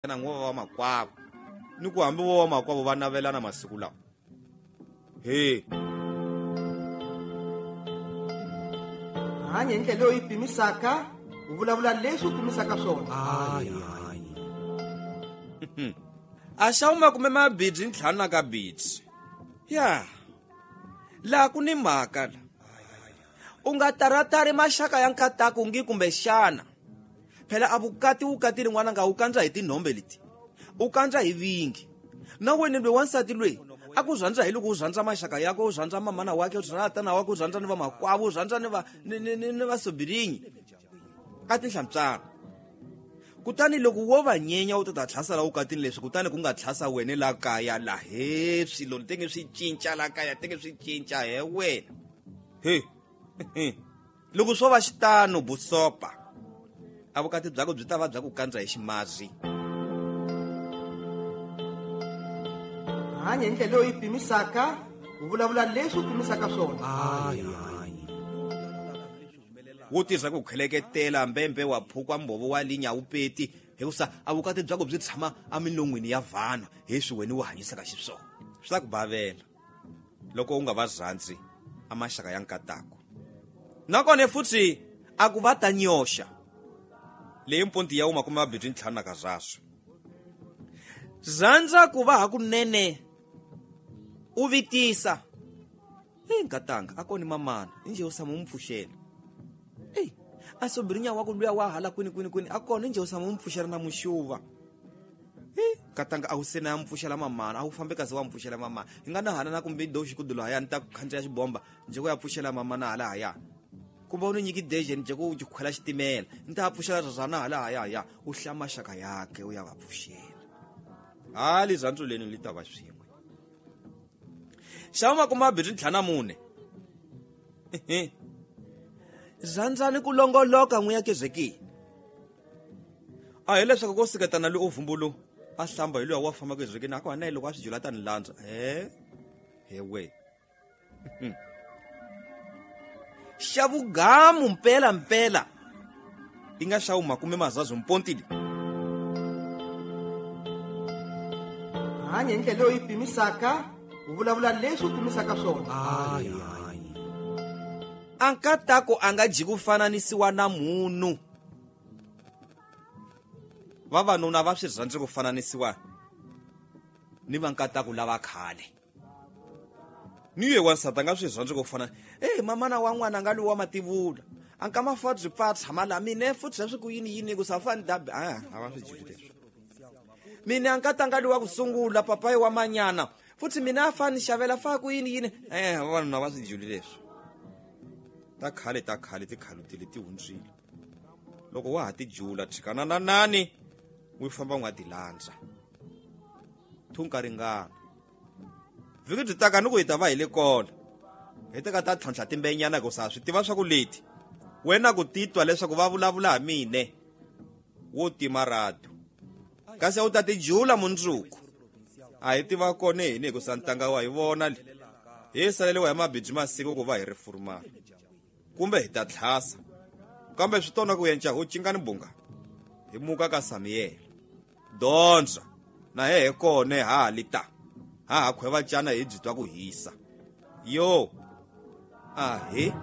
Na n'wa va makwavo ni ku hambi vo va makwavo va navelana masiku lawa he Hanya hi ndlela leyi u yi pimisaka, u vulavula leswi u pimisaka swona. A xa wu makume mabidzi ntlhanu na ka bidzi ya laha ku ni mhaka la u nga taratari maxaka ya nkataku ngi kumbexana phela a vukati wukatini n'wananga wu kandza hi tinhombe leti u kandza hi vingi na wena loyi wansati loyi a ku rhandza hi loko u rhandza maxaka yakwe, u rhandza mamana wakhe, u rhandza tana wakwe, u rhandza ni vamakwavo, u rhandza ni va ni vasobirinyi a tinhlampyana. Kutani loko wo va nyenya u ta ta tlhasela vukatini leswi, kutani ku nga tlhasa wena la kaya la he swilo tenge swi cinca la kaya tenge swi cinca he wena he. Loko swo va xitano busopa a vukati byako byi ta va bya ku kandza hi ximazi. Hanya hi ndlela leyi u yi pimisaka, u vulavula leswi u pimisaka swona. Wo tirhisa ku kheleketela mbembe wa phukwa mbhovo wa linya wu peti hikusa a vukati byako byi tshama emilon'wini ya vanhu hi swi wena u hanyisaka xiswona. Swi ta ku bavela loko u nga va rhandzi a maxaka ya nkatako. Nakona futhi a ku va ta nyoxa leyi mpunti ya wu makume mabirhi ntlhanu na kazaswo. Rhandza ku va hakunene u vitisa ei nkatanga a koni mamana inje u tshama u mu pfuxela. Ei a sobirinya wa ku luya wa hala kwini kwini kwini a kona inje u tshama u mu pfuxela na muxuva. Ei nkatanga a wu se na ya mu pfuxela mamana, a wu fambi kasi wa mu pfuxela mamana. Hi nga nahana na kumbe do xikudulu haya ni ta ku khandziya xibomba nje ku ya pfuxela mamana hala haya. Kumbe u ni nyiki deje nje ku khwela xitimela ni ta pfuxela rhana hala haya haya. U hlaya maxaka yakhe u ya va pfuxela. Ha lirhandzu leni li ta va swin'we. Xa makume mabirhi ntlhanu na mune. Rhandzani ku longoloka n'wi ya kezekini. A hi leswaku ko seketana loyi u vumbulu a hlamba hi luya wa famba kezekini a ku hana loko a swi jula tani landza. He he we. Xa vugamu mpela mpela i nga xa wu makume mazazu mpontile. Hanya hi ndlela leyi u yi pimisaka, u vulavula leswi u pimisaka swona. A nkatako a nga dyi ku fananisiwa na munhu. Vavanuna va swi rhandzi ku fananisiwa ni va nkatako lava khale. Ni ye wansati a nga swi rhandzi ku fana. Ei mamana wa n'wana nga lowa mativula. A nka mafadzi pfa tshama la mine futhi leswi ku yini yini ku sa fani dabi. A va swi dyili leswi. Mina a nkatanga lowa ku sungula papayi wa manyana. Futhi mina a fani xavela fa ku yini yini. Vavanuna va swi dyili leswi. Ta khale ta khale ti khalutile ti hundzile. Loko wa ha ti jula tshikana na nani u famba u nga ti landza. Thunka ringana. Vhiki byi taka ni ku hi ta va hi le kona. Hi teka ta tlhontlha timbenyana ku sa swi tiva swa ku leti. Wena ku titwa leswaku va vulavula ha mine. Wo tima radio. Kasi u ta ti jula mundzuku. A hi tiva kona hini hikusa ntanga wa hi vona le. Hi saleriwa hi mabidzi masiku ku va hi ri furumana. Kumbe hi ta tlhasa. Kambe swi tona ku yenca ho cinga ni bunga. Hi muka ka Samuel. Dondza na he he kona ha li ta. Ha ha khweva cana hi byi twa ku hisa. Yo. A he.